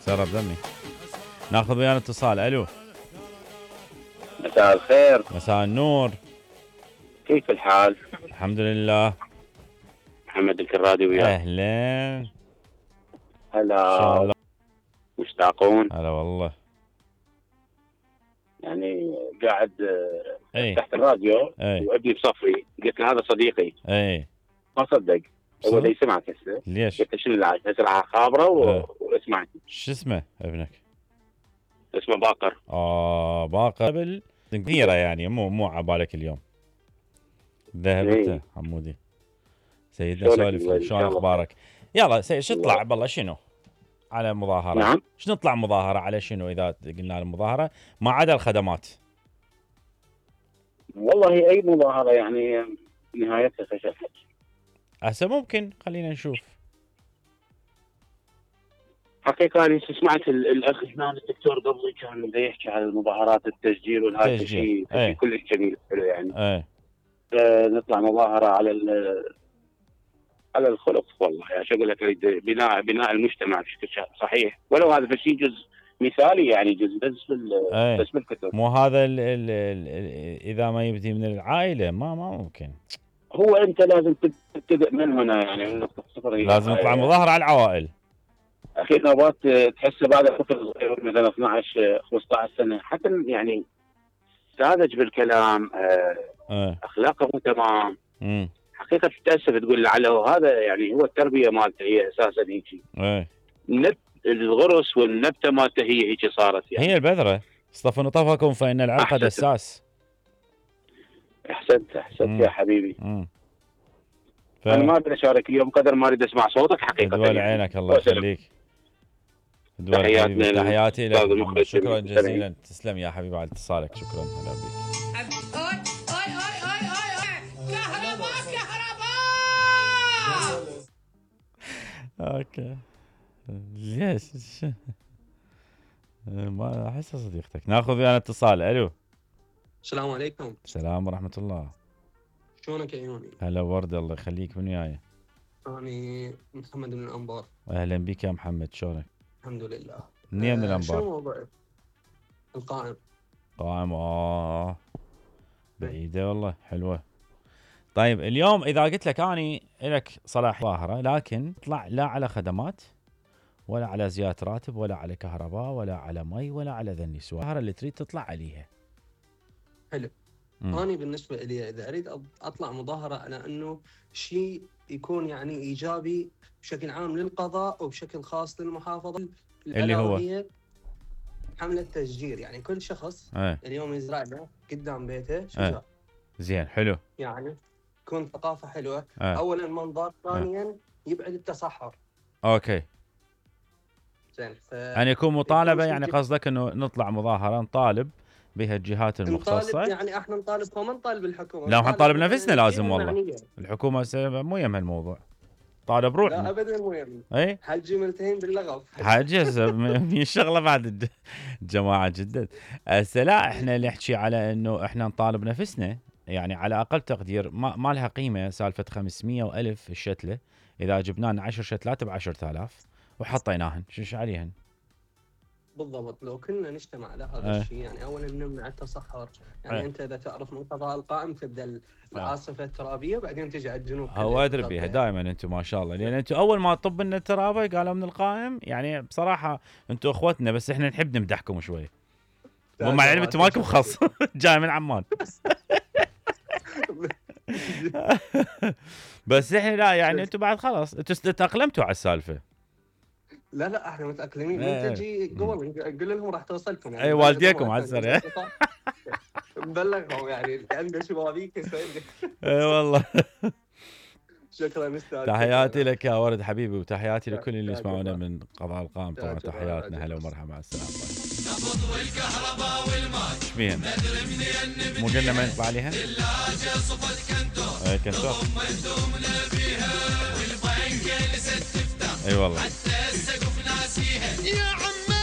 سرب دمي. ناخذ ويانا اتصال. الو. مساء الخير. مساء النور. كيف الحال؟ الحمد لله. محمد الكرادي وياك. اهلا. هلا. مشتاقون. هلا والله. يعني قاعد تحت الراديو وابني بصفي، قلت له هذا صديقي. ما صدق. هو اللي يسمعك هسه. ليش؟ قلت له شنو العاج؟ هسه خابره واسمعني. شو اسمه ابنك؟ اسمه باقر. باقر كثيره يعني مو عبالك اليوم. ذهبت حمودي. سيدنا سولف شلون اخبارك؟ يلا سيد شو تطلع بالله شنو؟ على مظاهره. نعم. شنو نطلع مظاهره على شنو اذا قلنا المظاهره ما عدا الخدمات؟ والله اي مظاهره يعني نهايتها فشل. هسه ممكن خلينا نشوف. حقيقة أنا سمعت الأخ هنا الدكتور قبلي كان بده يحكي على المظاهرات التسجيل والهذا شيء كلش جميل حلو يعني. نطلع مظاهرة على الخلق والله يعني شو أقول لك بناء المجتمع بشكل صحيح ولو هذا شيء جزء مثالي يعني جزء بس بالكتب. مو هذا إذا ما يبدي من العائلة ما ممكن. هو أنت لازم تبتدئ من هنا يعني من نقطة صفر. لازم نطلع مظاهرة على العوائل. اخي نوبات تحسه بعد طفل صغير مثلا 12 15 سنه حتى يعني ساذج بالكلام اخلاقه مو تمام. حقيقه تتاسف تقول لعله هذا يعني هو التربيه مالته هي اساسا هيك. الغرس والنبته مالته هي هيك صارت يعني. هي البذره اصطفوا طفكم فان العرق دساس. احسنت يا حبيبي. انا ما اريد اشارك اليوم قدر ما اريد اسمع صوتك حقيقه. دول عينك الله يخليك. تحياتي لك. شكرا جزيلا. تسلم يا حبيبي على اتصالك. شكرا. هلا بك. كهرباء. اوكي. ليش؟ ما احس صديقتك. ناخذ ويانا اتصال. الو. السلام عليكم. السلام ورحمه الله. شلونك يا عيوني؟ هلا ورد الله يخليك. من وياي؟ أنا محمد من الأنبار. أهلا بك يا محمد. شلونك؟ الحمد لله. منين من الأنبار؟ شنو موضوعك؟ القائم. قائم بعيدة والله. حلوة. طيب اليوم إذا قلت لك أني لك صلاح ظاهرة لكن اطلع لا على خدمات ولا على زيادة راتب ولا على كهرباء ولا على مي ولا على ذني سوى الظاهرة اللي تريد تطلع عليها. حلو. أنا بالنسبة لي إذا أريد أطلع مظاهرة على أنه شيء يكون يعني إيجابي بشكل عام للقضاء وبشكل خاص للمحافظة اللي هو حملة تشجير. يعني كل شخص اليوم يزرع له قدام بيته شجر. زين. حلو. يعني تكون ثقافة حلوة. أولا منظر. ثانيا يبعد التصحر. أوكي. زين. يعني يكون مطالبة يعني قصدك أنه نطلع مظاهرة نطالب بها الجهات المختصة. يعني احنا نطالب وما نطالب الحكومه. لا نطالب نفسنا لازم والله. الحكومه مو يم هالموضوع. طالب روحنا. لا ابدا مو يم. اي حجي ملتهين باللغف. حجز من الشغله بعد الجماعه جدا. لا احنا اللي نحكي على انه احنا نطالب نفسنا يعني على اقل تقدير ما لها قيمه سالفه 500 و1000 الشتله اذا جبنا لنا 10 شتلات ب 10000 وحطيناهن شو عليهن. بالضبط. لو كنا نجتمع على هذا الشيء يعني اولا نمنع التصحر. يعني انت اذا تعرف من قضاء القائم تبدا العاصفه الترابيه بعدين تجي على الجنوب. هو ادري بيها دائما انتم ما شاء الله لان انتم اول ما طب لنا الترابه قالوا من القائم يعني بصراحه انتم اخوتنا بس احنا نحب نمدحكم شوي. ومع العلم انتم مالكم خص جاي من عمان. بس احنا لا يعني انتم بعد خلاص انتم تاقلمتوا على السالفه. لا احنا متاقلمين. انت تجي قبل نقول لهم راح توصلكم يعني. اي والديكم على السريع. نبلغهم يعني عنده شبابيك يسوي. اي والله. شكرا استاذ. تحياتي لك يا ورد حبيبي وتحياتي لكل اللي يسمعونا من قضاء القائم. طبعا تحياتنا. هلا ومرحبا. مع السلامه. نبض والكهرباء والماء. ايش بيهن؟ مو قلنا ما نطلع عليها؟ الثلاجه صفت كنتو. اي كنتو. والبنك لسه تفتح. اي والله. حتى السقف ناسيها. يا